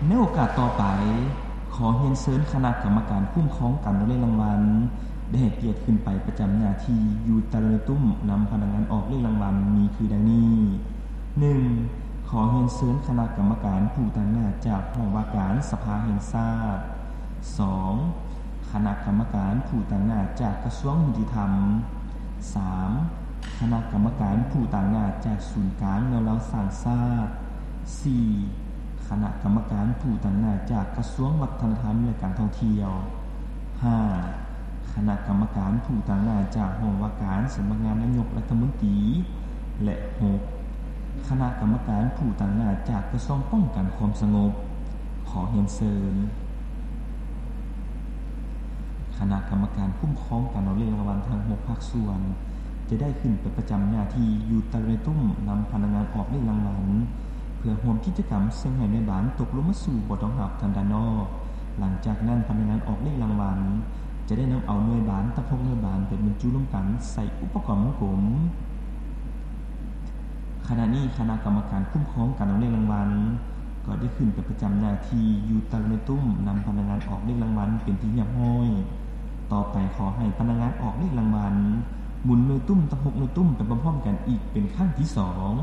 ໃນໂອກາດຕໍ່ໄປ, ຂໍຮຽນເຊີນຄະນະກຳມະການຄຸ້ມຄອງການອອກເລກລາງວັນ ໄດ້ໃຫ້ກຽດຂຶ້ນໄປປະຈຳໜ້າທີ່ຢູ່ຕາລາງໜ່ວຍຕຸ້ມນຳພະນັກງານອອກເລກລາງວັນ ມີຄືດັ່ງນີ້: ໜຶ່ງ ຂໍຮຽນເຊີນຄະນະກຳມະການຜູ້ຕາງໜ້າຈາກຫ້ອງວ່າການສະພາແຫ່ງຊາດ. ສອງ ຄະນະກຳມະການຜູ້ຕາງໜ້າຈາກກະຊວງຍຸຕິທຳ. ສາມ ຄະນະກຳມະການຜູ້ຕາງໜ້າຈາກສູນກາງແນວລາວສ້າງຊາດ. ສີ່ ຄະນະກຳມະການຜູ້ຕາງໜ້າຈາກກະຊວງວັດທະນະທຳ ແລະ ການທ່ອງທ່ຽວ. ຫ້າ ຄະນະກຳມະການຜູ້ຕາງໜ້າຈາກຫ້ອງວ່າການສຳນັກງານນາຍົກລັດຖະມົນຕີ ແລະ ຫົກ ຄະນະກຳມະການຜູ້ຕາງໜ້າຈາກກະຊວງປ້ອງກັນຄວາມສະຫງົບ. ຂໍຮຽນເຊີນ ຄະນະກຳມະການຄຸ້ມຄອງການອອກເລກລາງວັນທັງຫົກພາກສ່ວນ ຈະໄດ້ຂຶ້ນໄປປະຈຳໜ້າທີ່ຢູ່ຕາລາງໜ່ວຍຕຸ້ມນຳພະນັກງານອອກເລກລາງວັນ ເພື່ອຮ່ວມກິດຈະກຳເຊິ່ງໃຫ້ໜ່ວຍບານຕົກລົງມາສູ່ບໍ່ຕ້ອງຮັບທາງດ້ານນອກ. ຫຼັງຈາກນັ້ນ, ພະນັກງານອອກເລກລາງວັນຈະໄດ້ນຳເອົາໜ່ວຍບານທັງຫົກໜ່ວຍບານໄປບັນຈຸລວມກັນໃສ່ອຸປະກອນວົງກົມ. ຂະນະນີ້ຄະນະກຳມະການຄຸ້ມຄອງການອອກເລກລາງວັນ ກໍໄດ້ຂຶ້ນໄປປະຈຳໜ້າທີ່ຢູ່ຕາລາງໜ່ວຍຕຸ້ມນຳພະນັກງານອອກເລກລາງວັນເປັນທີ່ຮຽບຮ້ອຍ. ຕໍ່ໄປຂໍໃຫ້ພະນັກງານອອກເລກລາງວັນໝູນໜ່ວຍຕຸ້ມທັງຫົກໜ່ວຍຕຸ້ມໄປພ້ອມໆກັນອີກເປັນຄັ້ງທີສອງ.